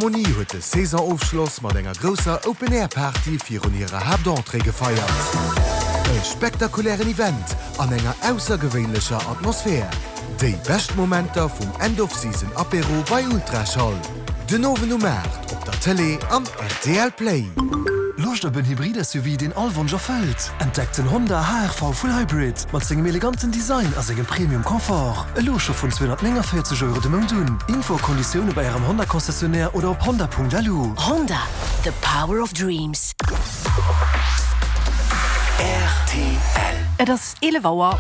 D'Philharmonie huet de Saisonofschloss mat enger grousser Open-Air-Party virun hirer Haaptentrée gefeiert. E spektakulären Event an enger aussergewéinlecher Atmosphär. Déi bescht Momenter vum End-of-Season-Apéro bei Ultraschall. Den Owend um 8 op der Tëlee an rtl Play. Loscht op en Hybrid-SUV, deen all Wonsch erfëllt? Entdeckt den Honda HR-V Full Hybrid mat sengem eleganten Design a sengem Premium Confort. Elo scho vun 249 Euro de Mount un. Info a Konditioune bei Ärem Honda Concessionnaire oder op honda.lu. Honda, the power of dreams. Rtl. Et ass 11 Auer.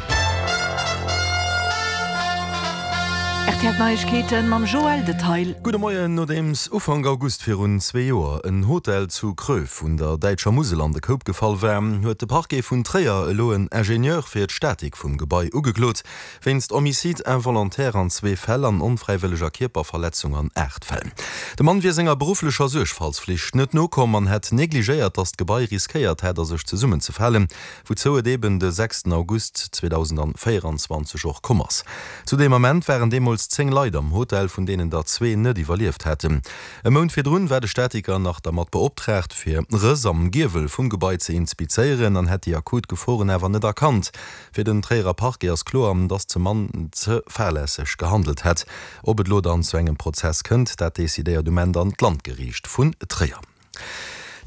Rtl Neiegkeeten mam Joël Detail. Gudde Moien. Nodeems Ufank August virun zwee Joer en Hotel zu Kröv un der däitscher Musel an de Koup gefall war, huet de Parquet vun Tréier elo en Ingenieur fir d'Statik vum Gebai ugeklot, wéinst Homicide involontaire an zwee Fäll an onfräiwëlleger Kierperverletzung an 8 Fäll. De Mann wier senger berufflecher Suergfaltsflicht net nokomm an hätt negligéiert, datt d'Gebai riskéiert hätt a sech zesummenzefalen, wouzou et eben de sechsten August 2024 och komm ass. Zu deem Ament waren deemools 10 Leit am Hotel, vun deenen der zwee net iwwerlieft hätten. E Mount virdrun war de Statiker nach dermat beoptraagt, fir Rëss am Giewel vum Gebai ze inspizéieren an hätt déi akut Geforen awer net erkannt. Fir den Tréierer Parquet ass kloer, datt ze Mann ze fahrlässeg gehandelt hätt. Ob et elo dann zu engem Prozess kënnt, dat decidéiert um Enn dann d'Landgeriicht vun Tréier.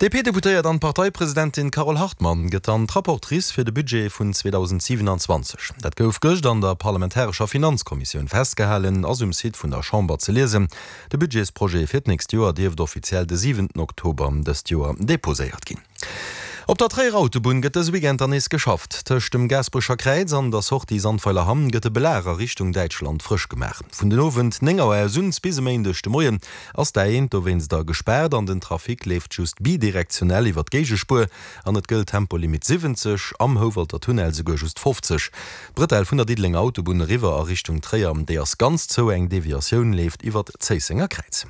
D'DP-Deputéiert an Parteipresidentin Carole Hartmann gëtt dann d'Rapportrice fir de Budget vun 2027. Dat gouf gëscht an der parlamentarescher Finanzkommissioun festgehalen, ass um Site vun der Chamber ze liesen. De Budgetsprojet fir d'nächst Joer dierft offiziell de siwenten Oktober dëst Joer deposéiert ginn. Op der Tréierer Autobunn gëtt dëse Weekend dann nees geschafft. Tëscht dem Gaasperecher Kräiz an der Sortie Sandweiler-Hamm gëtt de Belag a Richtung Däitschland frësch gemaach. Vun den Owend 9 Auer aus un bis e Méindeg de Moien ass d'A1 dowéinster gespaart an den Trafic leeft just bidirektionell iwwer d'Géigespuer an et gëllt Tempolimit 70, am Houwalter Tunnel souguer just 50. D'Bretelle vun der Diddelenger Autobunn eriwwer a Richtung Tréier, déi ass ganz zou, eng Deviatioun leeft iwwer d'Zéissenger Kräiz.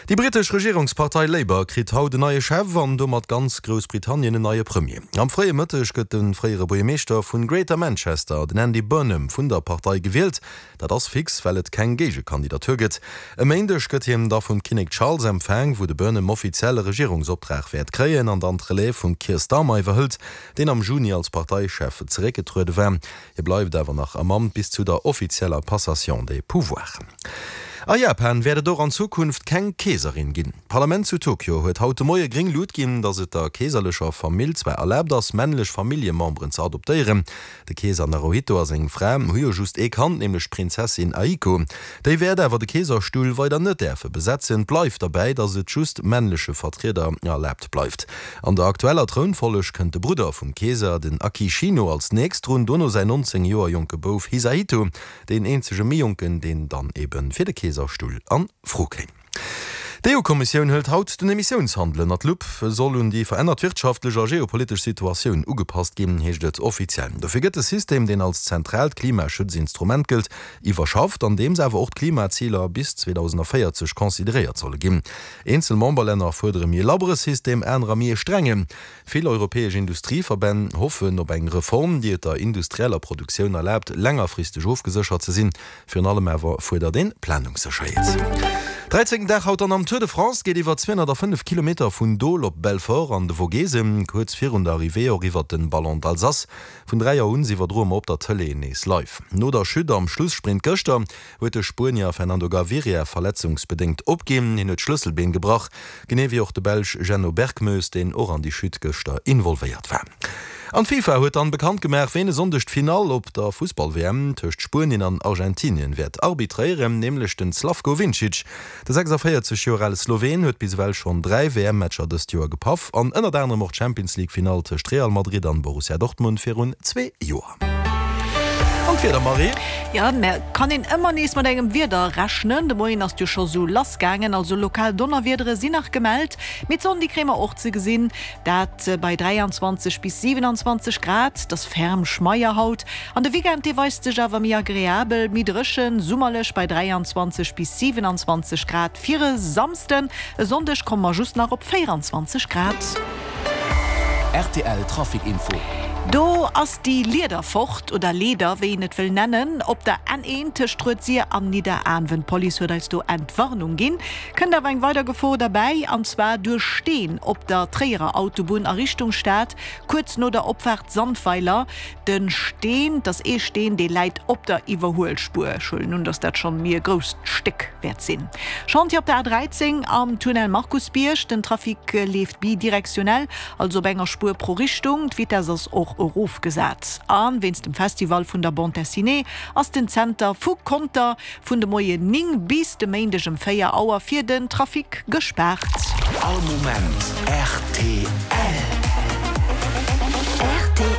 Déi brittesch Regierungspartei Labour kritt haut en neie Chef an domat ganz Groussbritannien en neie Premier. Am fréie Mëtteg gëtt de fréiere Buergermeeschter vun Greater Manchester, den Andy Burnham, vun der Partei gewielt. Dat ass fix, well et keng Géigekandidatur gëtt. E Méindeg gëtt hien da vum Kinnek Charles empfaang, wou de Burnham offiziell e Regierungsoptrag wäert kréien an dann d'Relève vum Keir Starmer iwwerhëlt, deen am Juni als Parteichef zeréckgetruede war. Hie bleift awer nach am Amt bis zu der offizieller Passation des pouvoirs. A Japan wäert et och an Zukunft keng Keeserin ginn. D'Parlament zu Tokio huet haut de Moie gréng Lut ginn, datt et der keeserlecher Famill zwar erlaabt ass, männlech Familljememberen ze adoptéieren. De Keeser Naruhito a seng Fra hu jo just ee Kand, nämlech d'Prinzessin Aiko. Déi wäert awer de Keeserstull weider net däerfe besetzen. Et bleift derbäi, datt et just männleche Vertrieder erlaabt bleift. An der aktueller Trounfolleg kënnt de Brudder vum Keeser, den Akishino, als nächst drun, dono säin 19 Joer jonke Bouf Hisahito, deen eenzege méi jonken, deen dann ebe fir de Keeserstull a Fro kéim. D'EU-Kommissioun hëlt haut den Emissiounshandel ënner d'Lupp. E soll un déi verännert wirtschaftlech a geopolitesch Situatioun ugepasst ginn, heescht et offiziell. Dofir gëtt de System, deen als zentraalt Klimaschutzinstrument gëllt, iwwerschafft, andeems awer och d'Klimaziler bis 2040 consideréiert solle ginn. Eenzel Memberlänner fuerdere méi e labbere System, anerer méi e strengen. Vill europäesch Industrieverbänn hoffen op eng Reform, déi et der industrieller Produktioun erlaabt, längerfristeg ofgeséchert ze sinn. Virun allem awer fuerdert een Planungssécherheet. Dräizéngten Dag haut dann am Tour de France, geet iwwer 205 Kilometer vun Dole op Belfort an de Vogesen, kuerz virun der Arrivée och iwwer den Ballon d'Alsace. Vun 3 Auer un iwwerdroe mer op der Tëlee nees live. No der Chute am Schlussprint gëschter huet de Spuenier Fernando Gaviria verletzungsbedéngt opginn. Hien huet d'Schlësselbeen gebrach, genee wéi och de Belsch Jenno Berckmoes, deen och an déi Chute gëschter involvéiert war. An d'FIFA huet dann bekannt gemaach, ween e Sonndeg d'Finall op der Fussball-WM tëscht Spuenien an Argentinien wäert arbitréieren, nämlech den Slavko Vincic. De 46 Joer ale Sloween huet bis ewell schonn 3 WM-Matcher dëst Joer gepaff an ënnert anerem och d'Champions-League-Finall tëscht Real Madrid an Borussia Dortmund virun zwee Joer. An d'Wieder, Marie? Jo, mä kann een ëmmer nees mat engem Wieder rechnen. De Moien ass et jo scho sou lass gaangen, also lokal Donnerwiedere sinn nach gemellt, mee d'Sonn déi kréie mer och ze gesinn, dat bei 23 bis 27 Grad. Et ass ferm schmeier haut an de Weekend dee weist sech awer méi agreabel, méi dréchen, summerlech bei 23 bis 27 Grad fir e Samsden. E Sonndeg komme mer just nach op 24 Grad. Rtl Trafic Info. Do ass déi Lieder fort, oder Leeder, wéi een et wëll nennen, op der N1 tëscht Rued-Sir an Nidderaanwen. D'Police huet eis do Entwarnung ginn. Kënnt awer eng weider Gefor derbäi, an zwar duerch Steen op der Tréierer Autobunn a Richtung Stad, kuerz no der Opfaart Sandweiler. De Steen, 't ass ee Steen, dee läit op der Iwwerhuelspuer. Ech huelen un, dass dat schonn méi e grousst Stéck wäert sinn. Chantier op der A13 am Tunnel Markusbierg. Den Trafic leeft bidirektionell, also op enger Spuer pro Richtung. D'Vitess ass och erofgesat. A wéinst dem Festival vun der Bande Dessinée ass den Zenter vu Conter Vun de Moien 9 bis de Méindeg ëm 4 Auer fir den Trafic gespaart. All Moment rtl. Rtl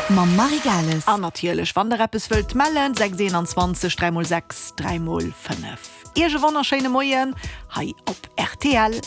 mam Marie Gales. An natierlech wann der eppes wëllt mellen, 6 21 3 x 6 3 x 5. Iech e wonnerschéine Moien hei op rtl.